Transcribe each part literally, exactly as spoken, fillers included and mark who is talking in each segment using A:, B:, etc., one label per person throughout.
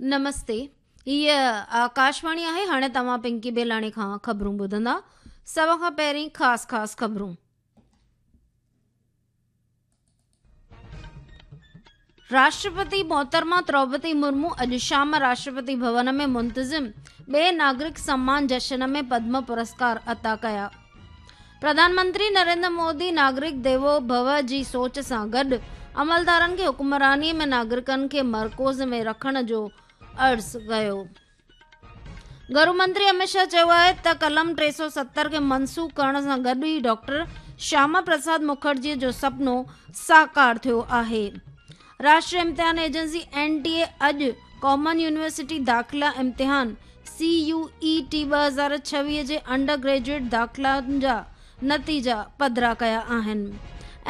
A: نمستي، هيء آڪاشواڻي آهي. هاڻي توهان پنڪي بيلاڻي کان خبرون ٻڌندا. سڀ کان پهرين خاص خاص خبرون. راشٽرپتي محترمه دروپدي مرمو اڄ شام راشٽرپتي ڀون ۾ منتظم ٻئي ناگرڪ سمان جشن ۾ پدم پرسڪار عطا ڪيا. پرڌان منتري نريندر مودي ناگرڪ ديوو ڀو جي سوچ سان گڏ عملدارن کي حڪمراني ۾ ناگرڪن کي مرڪوز ۾ رکڻ جو عرض ڪيو. گهرو منتري امت شاهه چيو آهي ته قلم ٽي سؤ ستر کي منسوخ ڪرڻ سان گڏ ئي ڊاڪٽر شياما پرساد مکرجي جو سپنو ساڪار ٿيو آهي. راشٽريه امتحان ايجنسي اين ٽي اي اڄ ڪامن يونيورسٽي داخلا امتحان سي يو اي ٽي ٻه هزار ڇويهه جي انڊر گريجوئيٽ داخلائن جا نتيجا پڌرا ڪيا آهن.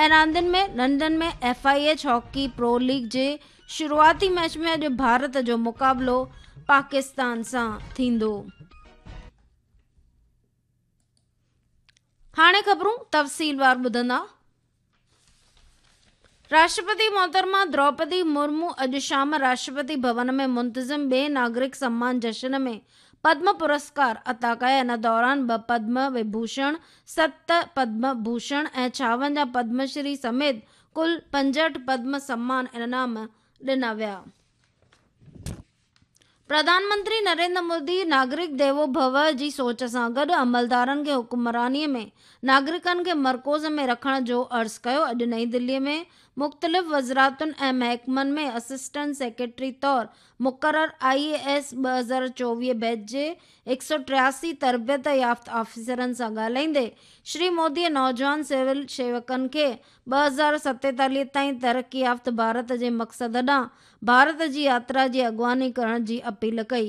A: ۽ راندين ۾ London ۾ F I H hockey pro league جي شروعاتي ميچ ۾ اڄ ڀارت جو مقابلو پاڪستان سان ٿيندو. هاڻي خبرون تفصيلوار ٻڌندا. راشٽرپتي محترمه دروپدي مرمو اڄ شام راشٽرپتي ڀون ۾ منتظم ٻئي ناگرڪ سمان جشن ۾ پدم پرسڪار عطا ڪيا. ان دوران ٻه پدم وڀوشڻ، ست پدم ڀوشڻ ۽ ڇاونجاهه پدم شري سميت ڪل پنجهٺ پدم سمان انعام ڏنا ويا. پرڌان منتري نريندر مودي ناگرڪ ديوو ڀو جي سوچ سان گڏ عملدارن کي حڪمراني ۾ ناگرڪن کي مرڪوز ۾ رکڻ جو عرض ڪيو. اڄ نئين دلي ۾ مختلف وزارتن ۽ محڪمن ۾ اسسٽنٽ سيڪريٽري طور مقرر آء اي ايس ٻه هزار چوويهه بيچ جي هڪ سؤ ٽياسي تربيت يافته آفيسرن سان ڳالهائيندي شري مودي نوجوان سول سيوڪن کي ٻه هزار ستيتاليهه تائين ترقي يافته ڀارت جي مقصد ڏانهن ڀارت جي ياترا جي اڳواڻي ڪرڻ جي اپيل ڪئي.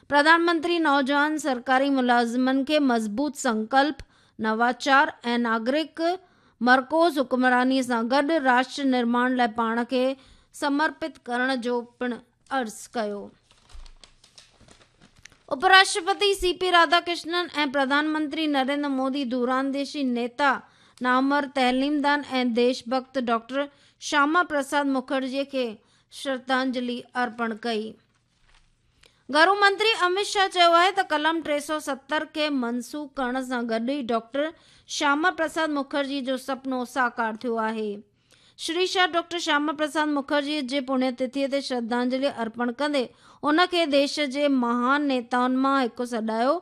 A: پرڌان منتري نوجوان سرڪاري ملازمن کي مضبوط سنڪلپ، نواچار ۽ ناگرڪ مرڪوز حڪمراني سان گڏ راشٽر نرماڻ لاءِ پاڻ کي سمرپت ڪرڻ جو پڻ عرض ڪيو. اپراشٽرپتي سي پي راڌاڪرشنن ۽ پرڌان منتري نريندر مودي دورانديشي نيتا، نامور تعليمدان ۽ ديش ڀڳت ڊاڪٽر شياما پرساد مکرجي کي شرڌانجلي ارپڻ ڪئي. گهرو منتري امت شاهه چيو آهي ته قلم ٽي سؤ ستر کي منسوخ ڪرڻ سان گڏ ئي ڊاڪٽر شياما پرساد مکرجي جو سپنو ساڪار ٿيو آهي. شري شاهه ڊاڪٽر شياما پرساد مکرجي جي پڻيه تٿي تي شرڌانجلي ارپڻ ڪندي ان کي ديش جي مهان نيتائن مان هڪ سڏايو.